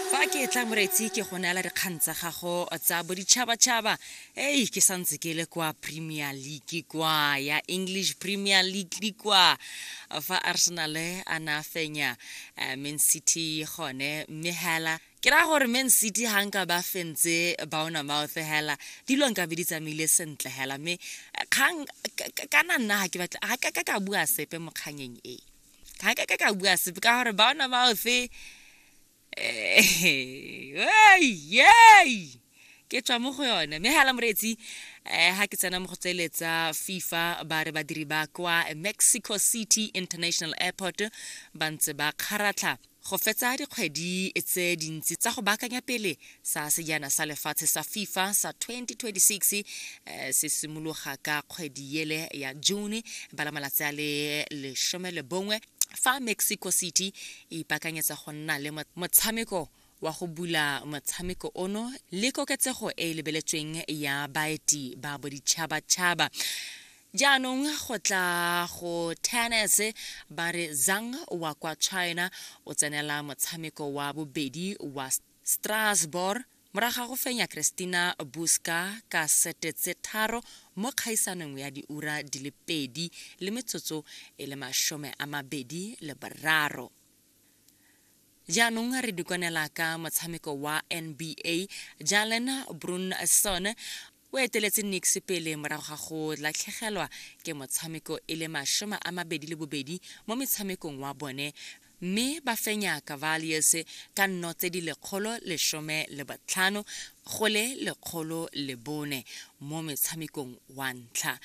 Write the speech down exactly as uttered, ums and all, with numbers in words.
Fa ke tla, moretsi, ke go neela dikgang tsa gago tsa boditšhabatšhaba. Ei, ke santse ke le kwa Premier League, kwa ya English Premier League, kwa fa Arsenal a na fenya eh, Man City gone, mme hela ke raya gore Man City ga nka ba fentse Bournemouth hela, dilo nka be di tsamaile sentle hela. Mme eh, kgang kana nna ga ke batla, ga ka ka ka bua sepe mo kganyeng e, ga ka ka ka bua sepe ka gore Bournemouth, ei, ke tswa mo go yone. Mme hela moreetsi, um ga ke tsena mo go tseletsa FIFA, ba re badiri ba kwa Mexico City International Airport ba ntse ba kgaratlha go fetsa dikgwedi tse dintsi tsa go baakanya pele sa Sejana sa Lefatshe sa FIFA sa twenty twenty-six eh, se simologa ka kgwedi yele ya June ba la malatsi a le lesome le bongwe, fa Mexico City e ipaakanyetsa go nna le motshameko wa go bula motshameko ono le koketsego e e lebeletsweng ya baeti ba boditšhabatšhaba. Jaanong go tla go tennis, ba re Zhang wa kwa China o tsenela motshameko wa bobedi wa Strasbourg morago ga go fenya Christina Buska ka sete tse tharo mo kgaisanong ya diura di le pedi le metsotso e le mashome a mabedi le boraro. Jaanong re dikonela ka motshameko wa N B A. Jalen Brunson o eteletse Knicks pele morago ga go latlhegelwa ke motshameko e le mashome a mabedi le bobedi mo metshamekong wa bone, mme ba fenya Cavaliers ka nno tse di lekgolo lesome le botlhano go le lekgolo le bone mo metshamekong wa ntlha.